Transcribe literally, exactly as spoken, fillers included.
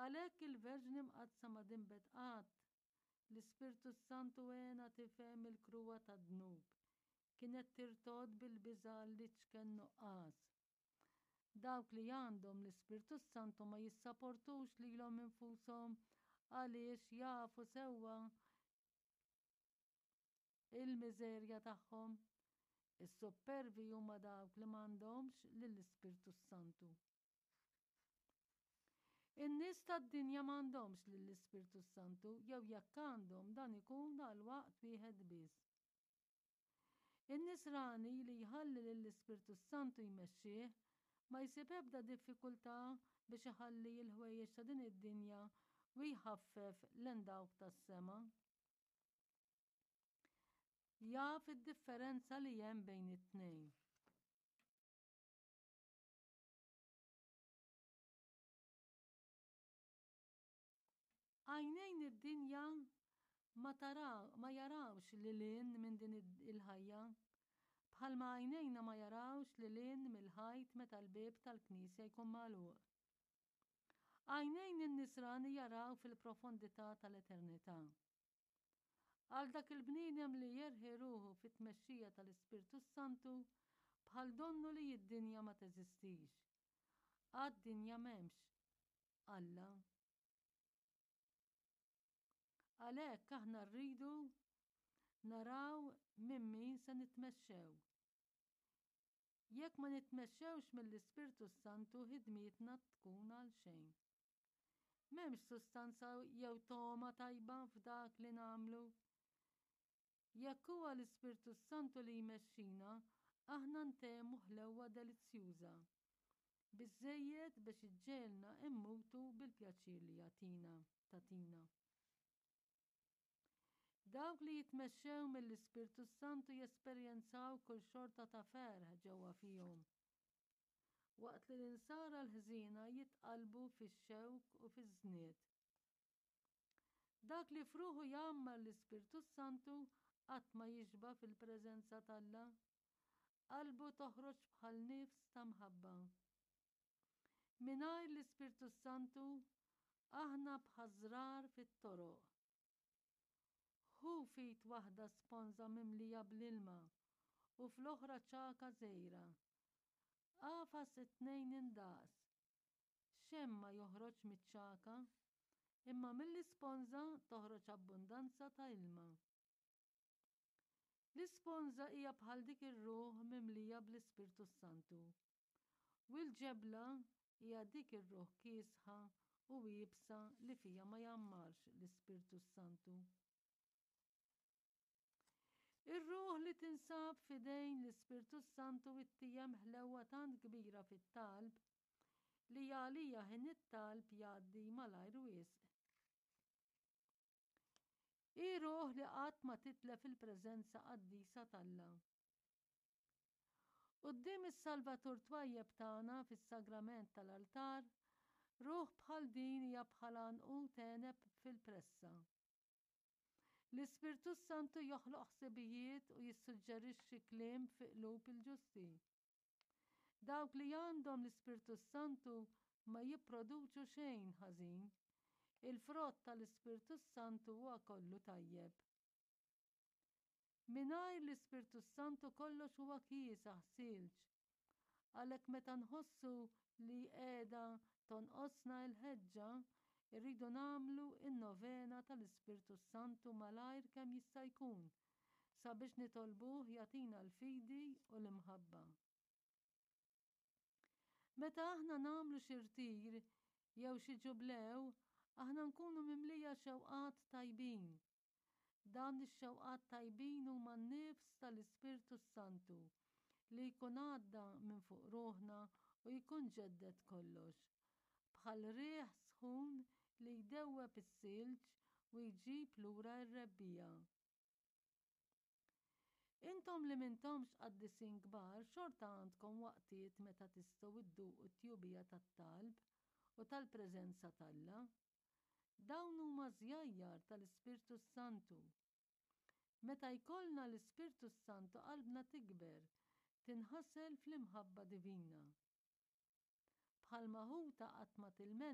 Għalhekk il-Verġni Mqaddsa ma dinbet qatt. L-Ispirtu s-Santu għenha tifhem il-kruha tad-dnub. Kienet tirtogħod bil-biża' għall-iċken nuqqas. Dawk li għandhom l-Ispirtu s-Santu ma jissaportux lilhom infushom għaliex jafu sewwa il-miżerja tagħhom. Is-suppervi huma dawk li m'għandhomx lill-Ispirtu s-Santu. In-nies tad-dinja m'għandhomx lill-Ispirtu s-Santu jew jekk għandhom dan ikun għal waqt wieħed biss. In-nisrani li jħalli lill-Ispirtu s-Santu jmexxih ma jsib ebda diffikultà biex iħalli l-ħwejjeġ ta' din id-dinja u jħaffef lejn dawk tas-sema. Jaf id-differenza li hemm bejn it-tnejn. Għajnejn id-dinja ma taraw, ma jarawx lil hinn minn din il-ħajja, bħalma għajnejna ma jarawx lil hinn mill-ħajt meta l-bieb tal-knisja jkun magħluq. Għajnejn in-nisrani jaraw fil-profondità tal-eternità. Għal dak il-bniedem li jerħi ruħu fit-tmexxija tal-Ispirtu s-Santu, bħal donnu li d-dinja ma teżistix. Għad-dinja m'hemmx Alla. Għalhekk aħna rridu naraw minn min se nitmexxew. Jekk ma nitmexxewx mill-Ispirtu s-Santu ħidmietna tkun għal xejn. M'hemmx sustanza jew togħma tajba f'dak li nagħmlu. Jekk huwa l-Ispirtu s-Santu li jmexxina, aħna ntemu ħlewwa delizzjuża. Biżżejjed biex iġġegħelna immutu bil-pjaċir li jagħtina, tagħtina. Dawk li jitmexxew mill-Ispirtu s-Santu jesperjenzaw kull xorta ta' ferħ ġewwa fihom. Waqt li l-insara l-ħżiena jitqallbu fix-xewk u fiż-żnied. Dak li f'ruħu jgħammar l-Ispirtu s-Santu qatt ma jixba' fil-preżenza t'Alla. Qalbu toħroġ bħal nifs ta' mħabba. Mingħajr l-Ispirtu s-Santu aħna bħaż-żrar fit-toroq. Ħu f'id waħda sponża mimlija bl-ilma u fl-oħra ċagħka żgħira. Agħfas it-tnejn indaqs. Xejn ma joħroġ miċ-ċagħka, imma mill-isponża toħroġ abbundanza ta' ilma. L-isponża hija bħal dik ir-ruħ mimlija bl-Ispirtu s-Santu. U l-ġebla hija dik ir-ruħ kiesħa u iebsa li fija ma jgħammarx l-Ispirtu s-Santu. Ir-ruħ li tinsab f'idejn l-Ispirtu s-Santu ittiegħem ħlewwa tant kbira fit-talb li għalija ħin it-talb jgħaddi malajr wisq. Hi ruħ li qatt ma titlef il-preżenza qaddisa t'Alla. Quddiem is-Salvatur twajjeb tagħna fis-sagrament tal-altar, ruħ bħal din hija bħal għanqud għeneb fil-pressa. L-Ispirtu s-Santu joħloq ħsibijiet u jissuġġerixxi kliem fi qlub il-ġusti. Dawk li għandhom l-Ispirtu s-Santu ma jipproduċu xejn ħażin. Il-frott tal-Ispirtu s-Santu huwa kollu tajjeb. Mingħajr l-Ispirtu s-Santu kollox huwa kiesaħ silġ. Għalhekk meta nħossu li qiegħda tonqosna l-ħeġġa, irridu nagħmlu n-novena tal-Ispirtu s-Santu malajr kemm jista' jkun sabiex nitolbuh jagħtina l-fidi u l-imħabba. Meta aħna nagħmlu xi rtir jew xi ġublew, aħna nkunu mimlija xewqat tajbin. Dawn ix-xewqat tajbin huma n-nifs tal-Ispirtu s-Santu li jkun għadda minn fuq ruħna u jkun ġedded kollox. Bħal riħ sħun li jdewweb is-silġ u jġib lura r-rebbiegħa. Intom li m'intomx qaddisin kbar xorta għandkom waqtiet meta tistgħu dduqu t-tjubija tat-talb u tal-preżenza t'Alla. Dawn huma żjajjar tal-Ispirtu s-Santu. Meta jkollna l-Ispirtu s-Santu qalbna tikber, tinħasel fl-imħabba divina. Bħalma ħuta qatt ma tilmenta